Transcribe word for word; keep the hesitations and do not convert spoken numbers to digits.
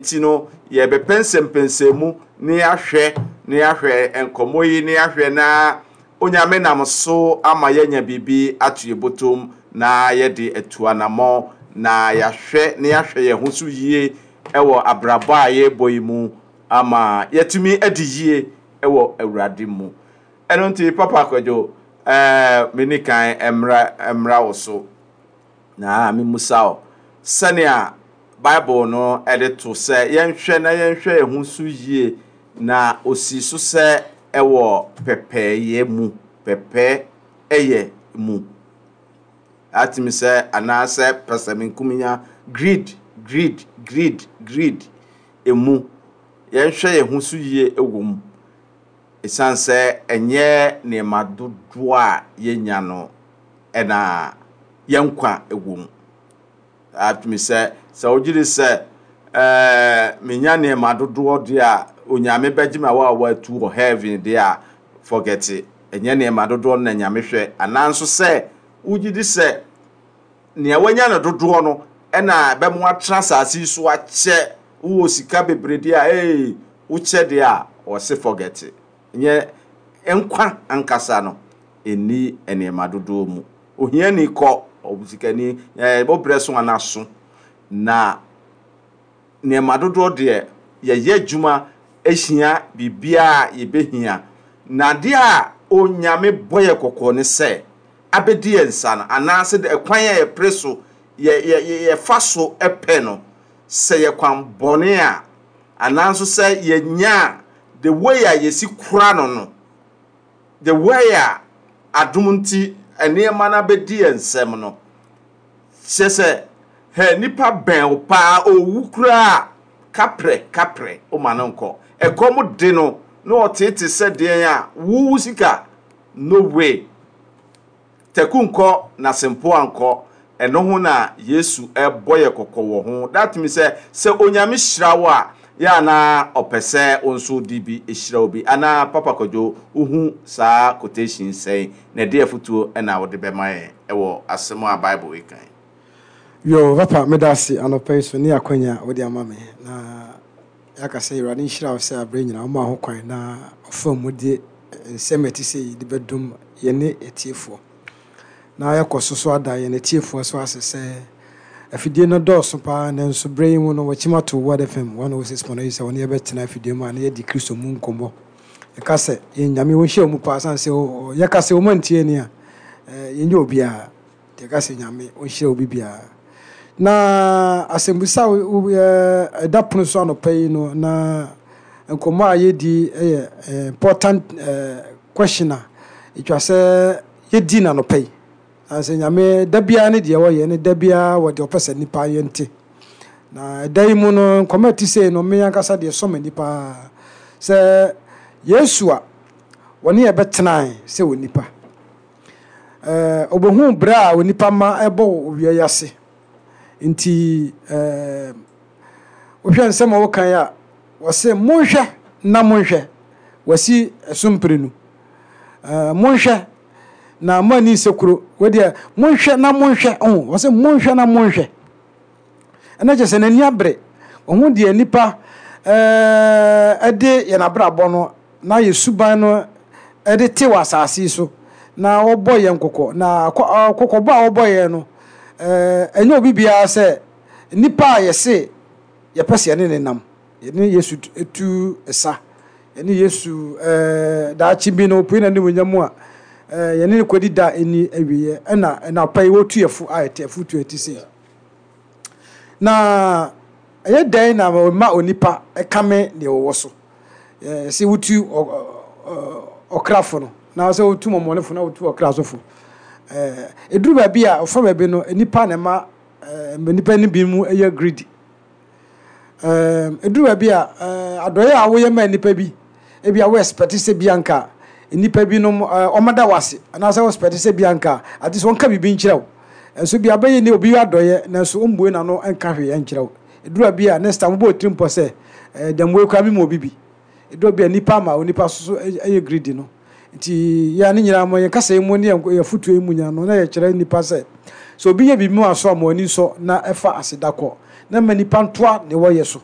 Nti no, yɛbɛpɛnsɛmpɛnsɛmu na yɛahwɛ na yɛahwɛ nkɔmmɔ yi na yɛahwɛ na Onyame nam so ama yɛanya biribi ato yɛ bɔtɔm na yɛde atu anammɔn na yɛahwɛ na yɛahwɛ yɛn ho so yie ɛwɔ abrabɔ a yɛrebɔ yi mu ama yɛtumi adi yie ɛwɔ Awurade mu. Ɛno nti, Papa Kwadwo, ɛɛ meni kan mmra mmra wo so na memusa wo sɛnea Bible no ɛde to sɛ yɛnhwɛ na yɛnhwɛ yɛn ho so yie, na osi so sɛ ɛwɔ pɛpɛɛyɛ mu, pɛpɛɛ ɛyɛ mu atumi sɛ anaasɛ pɛsɛmenkominya, greed, greed, greed, greed emu, yɛnhwɛ yɛn ho so yie ɛwɔ mu, ɛsiane sɛ ɛnyɛ nneɛma dodoɔ a yɛnya no ɛna yɛn nkwa ɛwɔ mu. Atumi sɛ sɛ wogye di sɛ ɛɛ menya nneɛma dodoɔ deɛ a, Onyame bɛgye me a watu wɔ heaven deɛ a, forget it. Ɛnyɛ nneɛma dodoɔ no na Nyame hwɛ. Anaa nso sɛ wogye di sɛ nea wanya no dodoɔ no ɛna ɛbɛmo atena asase yi so akyɛ, wowɔ sika bebree deɛ a, ee, wokyɛ deɛ a, ɔse forget it. Nyɛ nkwa ankasa no ɛnni nneɛma dodoɔ mu. Ohiani kɔ ɔsikani ɛɛ wobrɛ so anaso na nneɛma dodoɔ deɛ, yɛyɛ adwuma ahyia biribiara a yɛbɛhia, na adeɛ a Onyame bɔ yɛ kɔkɔɔ ne sɛ abɛdi yɛn nsa no anaasɛ ɛkwan a yɛpere so yɛ yɛ yɛfa so pɛ no, sɛ yɛ kwan bɔne a, anaa nso sɛ yɛnya the way a yɛsi kora no no the way a adom nti nneɛma no abɛdi yɛn nsam no, kyerɛ sɛ hɛ nipa bɛn wo paa, owu koraa, kaprɛ kaprɛ woma no nkɔ, ɛkɔm de no na ɔtete sɛ deɛn a wuwu sika, no way, tɛku nkɔ na sempo ankɔ. Ɛno ho na Yesu ɛbɔ yɛ kɔkɔ wɔ ho. That means sɛ sɛ Onyame hyira wo a, yɛ anaa ɔpɛ sɛ wo nso de bi hyira wo bi anaa? Papa Kwadwo, wohu saa quotation sɛn na ɛde afotuo ɛna wode bɛma yɛn ɛwɔ asɛm a Bible yi kan? Yo, papa, meda ase anɔpa yi so ne akwanya a wode ama me na yɛaka sɛ Awurade nhyira wo sɛ aberɛ nyinaa woma ho kwan na ɔfa mu de nsɛm a ɛte sɛ yi de bɛdom yɛne atiefoɔ, na yɛkɔ so so ada yɛn atiefoɔ so ase sɛ afidie no dɔɔso paa, nanso berɛ yi mu no wɔkyim ato Word F M one oh six point eight sɛ wɔne yɛbɛtena afidie mu a na yɛdi Kristo mu nkɔmmɔ. Yɛka sɛ yɛn Nyame wɔnhyia mu paa, sane sɛ yɛka sɛ wɔma ntie ni a, yɛnyɛ obiara. Yɛka sɛ Nyame ɔnhyira obi biara. Na asɛmbusa ɛda pono so anɔpa yi no na nkɔmmɔ a yɛdi yɛ important question a ɛtwa sɛ yɛdi no anɔpa yi, sɛ Nyame da biara ne deɛ wɔyɛ ne da biara wɔ deɛ ɔpɛ sɛ nipa yɛnte. Na ɛda yi mu no, nkɔmmɔ a ɛte sei no, me ankasa deɛ sɔ m'ani paa sɛ Yesu a wɔne yɛ bɛtenae sɛ wɔ nipa, ɔbɛhu berɛ a onipa ma ɛbɔ wɔ owia yi ase. Nti wohwɛ nsɛm a wɔkan a, wɔse monhwɛ na monhwɛ, wɔasi ɛso mprenu, monhwɛ na mo ani sɛ kuro wɔdeɛ, monhwɛ na monhwɛ ɔho. Wɔse monhwɛ na monhwɛ, ɛna kyerɛ sɛ n'ani abere ɔho deɛ nipa ɛde yɛn abrabɔ no na yɛ suban no ɛde te wɔ asase yi so, na wɔbɔ yɛn kɔkɔ. Na kɔkɔbɔ a wɔbɔ yɛn no, ɛnyɛ obi biara sɛ nipa a yɛse yɛpɛ sɛ yɛne ne nam, yɛne Yesu tu ɛsa, yɛne Yesu daakye bi no opue n'anim nyam mu a, yɛne ne kɔdi da ɛni awieɛ, ɛna ɛna pa yi wɔtu yɛfo a ɛte afotu ɛte sei. Na ɛyɛ dɛn na ma onipa ɛkame deɛ wɔwɔ so sɛ wotu ɔkrafo no na sɛ wotu mɔmɔnefo na wotu ɔkra sofo? Ɛduru baabi a ɔfa baabi no, nipa na ɛma nipa no bi mu yɛ greedy. Ɛduru baabi a adɔeɛ a woyɛ ma nipa bi, ebi a wo expect sɛ bi anka nipa binom ɔmada wo ase, anaasɛ wo expect sɛ bi anka ate sɛ ɔnka biribi nkyerɛ wo, nso bi abɛyɛ ne obi adɔeɛ, nanso ɔmbue n'ano nka hwee nkyerɛ wo. Ɛduru baabi a next time wobɔ otiri mpɔ sɛ dɛm wei koraa mi ma obi bi. Ɛduru baabi a nipa ama onipa so yɛ greedy no. Nti yɛn ne nyinaa mo yɛn kasa yi mu ne yɛn fotuo yi mu nyinaa no, na yɛkyerɛ nipa sɛ sɛ obi yɛ biribi mu aso a, mo ani nsɔ na ɛfa aseda kɔ na ma nipa ntoa ne wɔyɛ so.